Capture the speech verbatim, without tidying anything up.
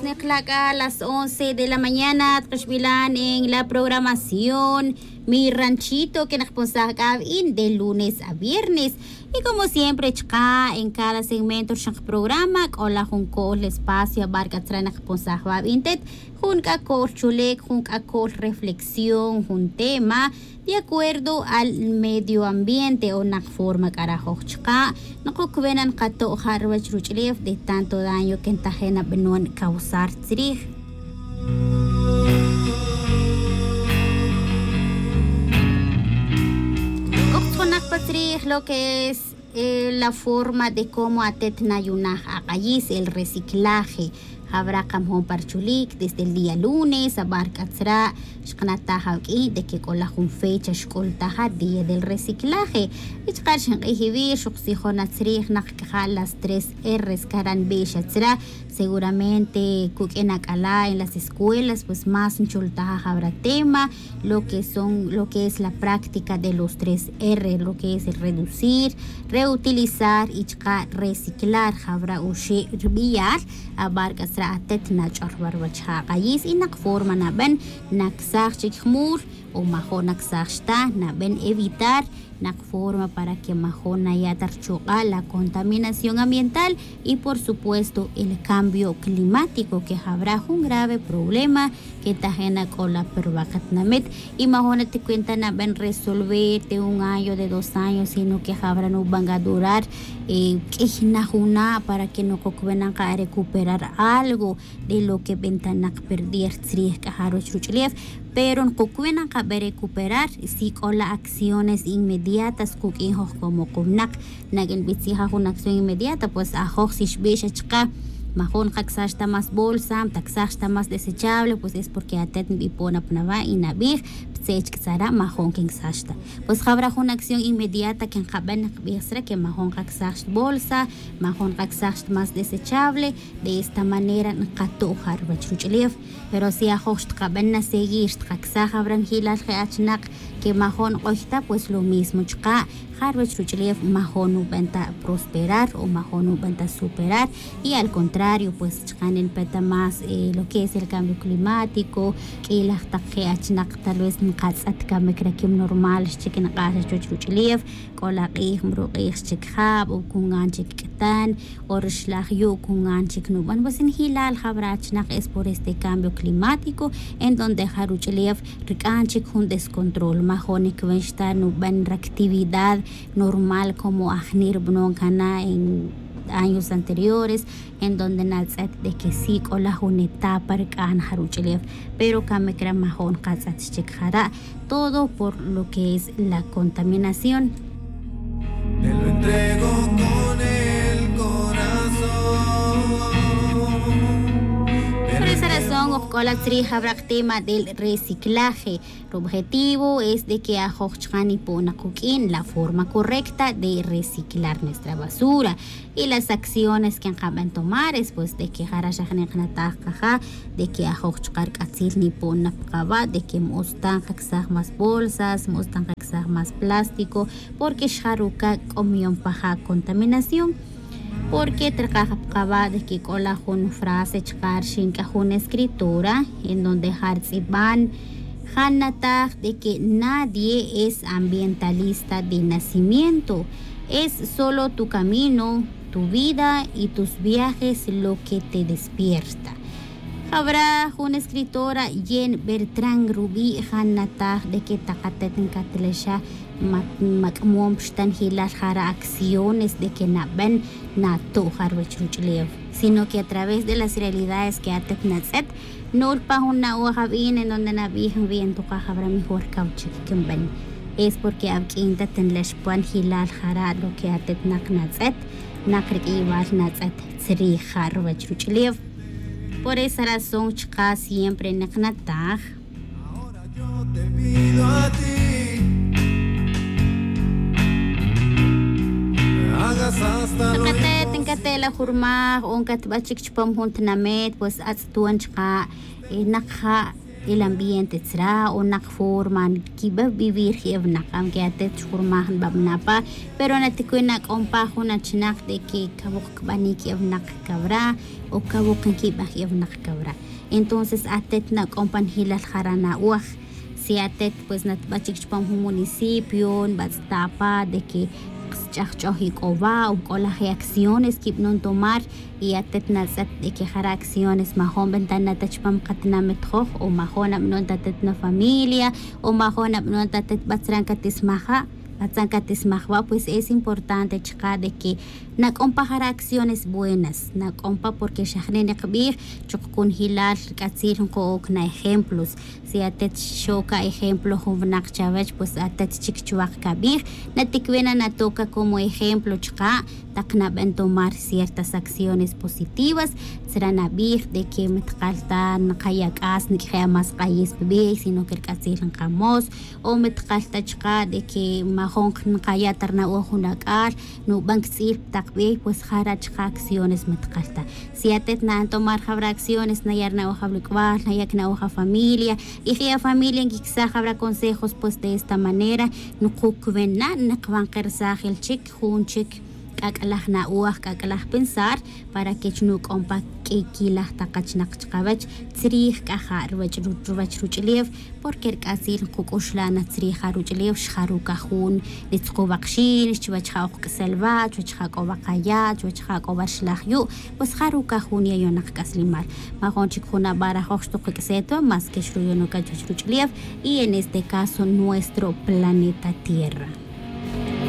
Nekla' c'a las once de la mañana tkaxbilan en la programación, mi ranchito que nakponsaj c'a avi'in de lunes a viernes. Y como siempre chka' en cada segmento rixin kaprograma c'o la jun co'l espacio abar c'a tzra' nakponsaj va avi'in tet, jun c'a co'l chulic, jun c'a co'l reflexión, jun tema de acuerdo al medio ambiente o nak forma c'a rajoj chka'. Nokocbena nkato'ja' ruwech ruch'ulef de tanto daño que ntaje' nabanon causar tzrij. C'o ktzjonak pa tzrij lo que es la forma de cómo atet nayunaj ak'ayis, el reciclaje. Jawra' kamjon pa ruchulic desde el día lunes abar c'a tzra' xkanataj awq'uin de que c'o la jun fecha xc'ultaja día del reciclaje. Y chka' rixin k'ij iwi' xuksijona tzrij nak c'a ja' las tres r, caran bixa tzra'. Seguramente cuq'uin ac'ala' en las escuelas pues más nchultaja jawra' tema, lo que son lo que es la práctica de los tres r, lo que es el reducir, reutilizar y chka' reciclar. Jawra' uxe' rubiyal abar c'a tzra' atet nach'or va ruwech ja ak'ayis y nak forma naban nacsaj chic jmul o majo' nacsaj xta naban evitar nak forma para que majo' naya' ta ruchuk'a' la contaminación ambiental y por supuesto el cambio climático que jawra' jun grave problema que ntaje' nac'ola pa ruwa' katinamit. Y majo' naticuenta naban resolver de un año de dos años sino que jawra' nuban c'a durar q'uiy na juna' para que nokocbena nka recuperar algo de lo que bentanak perder tzrij c'a ja ruwech ruch'ulef. Pero nokocbena nka recuperar si c'o la acciones inmediatas cuq'uin joj como kownak. Naq'uin bitzija jun acción inmediata pues ajoj si xbixa chka' majo' nkacsax ta más bolsa, ntacsax ta más desechable pues es porque atet nbipon na pa nawa' y nabij ptzech c'a tzara' majo' nquincsax ta. Pues jawra' jun acción inmediata que nkaban nkbij tzra' que majo' nkacsax ta bolsa, majo' nkacsax ta más desechable. De esta manera nkato'ja ruwech ruch'ulef. Pero si ajoj xtkaban naseguir xtkacsaj jawra' njilal je' achinak que majo' nk'oy ta pues lo mismo chka' ja ruwech ruch'ulef majo' nuban ta prosperar o majo' nuban ta superar. Y al contrario pues chka' nipeta ta más lo que es el cambio climático. Q'uiy laj tak je' achinak tal vez nkatz'et camic raquim normal xchic nk'ax chuwech ruch'ulef. C'o la k'ij mruk'ij xchic jab o cungan chic c'tan o rixlaj yu' cungan chic nuban pues njilal jawra' achinak es por este cambio climático en donde ja ruch'ulef rc'an chic jun descontrol majo' nicwenx ta nuban ractividad normal como ajni' rubanon cana' en años anteriores en donde natz'et de que si c'o la jun etapa rc'an ja ruch'ulef. Pero camic re majo' nkatz'et xchic jara'. Todo por lo que es la contaminación. Por esa razón ojk'ola tzrij jawra' tema del reciclaje. Rubjetivo es de que ajoj chka' nipon na kuq'uin la forma correcta de reciclar nuestra basura. Y las acciones que nkaban tomar es pues de que jara' xa jani' kanataj kaja' de que ajoj chka' rk'atzil nipon na pa kawa' de que ma utz ta nkacsaj más bolsas, ma utz ta nkacsaj más plástico, porque xa ruca' c'o miyon pa ja' contaminación. Porque trkaj pa kawa' de que c'o la jun frase chka' rxin c'a jun escritora en donde ja' rtz'iban ja' nataj de que nadie es ambientalista de nacimiento. Es solo tu camino, tu vida y tus viajes lo que te despierta. Jawra' jun escritora Jane Bertrand rubi' ja' nataj de que tak atet ncatlexa ma c'amon pa xta njilal jara' acciones de que naban nato' ja ruwech ruch'ulew, sino que a través de las realidades que atet natz'et nul pa jun na'oj abin en donde nabij nwi' ntukaj jawra' mejor kaw chic quinban. Es porque awq'uin ta tinlex pa njilal jara' lo que atet nak natz'et, nak riq'uiybal natz'et tzrij ja ruwech ruch'ulew. Por esa razón chka' siempre nak nataj tak atet ncate' la jurmaj o ncatba' chic chupam jun tinamet pues atz'ton chka' nak ja' el ambiente tzra o nak forma nquibe vivir je' winak. Aunque atet xjurmaj nbabna pa, pero naticuin nak'on pa jun achinak de que cawok cbanic je' winak cawra o cawok nquibaj je' winak cawra. Entonces atet nak'on pa njilal jara' na'oj. Si atet pues natba' chic chupam jun municipio nbatz'ta' pa de que xch'ajch'oj ic'o wa o c'o laj acciones quibanon tomar, y atet natz'et de que jara' acciones majun bentana ta chupam katinamit joj o majun nabanon ta atet nafamilia o majun nabanon ta atet batzran catismaja', batzran catismaj wa. Pues es importante chaka' de que nak'on pa jara' acciones buenas, nak'on pa porque xa jne' nikbij chuk cunjilal rc'atzil nko'oc na ejemplos. Si atet xoca ejemplo jun winak chawech, pues atet chic chuwak cabij, naticuina natoca como ejemplo chaka' tak naben tomar ciertas acciones positivas. Tzra nabij de que mi tkal ta nkaya' c'as niq'ueje' a mas k'ayis pa bey, sino que rc'atzil nkamos, o mi tkal ta chaka' de que majun nkaya' ta rna'oj jun ac'al nuban ctz'il pa tak bey, pues jara' chaka' acciones mi tkal ta. Si atet na'an tomar jawra acciones, naya' rna'oj awalk'ual, naya' cna'oj afamilia, y je' afamilia nquicsaj jawra consejos, pues de esta manera nkucwena, nkawan ke rsajil chic jun chic c'ac'laj na'oj, c'ac'laj pensar, para que chi nuc'on pa q'uiy quilaj tak achinak chkawech. Tzrij c'a ja' ruwech ruwech ruch'ulew, porque rc'atzil nkuc'uxla' na tzrij ja ruch'ulew, xjaruca jun nitzukuwak xin, chuwech ja ok k'isel wa, chuwech ja c'o wa kaya', chuwech ja c'o wa rxlaj yu', pues jaruca jun yayonak c'aslimal. Majun chic jun abarajoc xtukuc'set wa, mas que xruyonoca chuwech ruch'ulew, y en este caso nuestro planeta Tierra.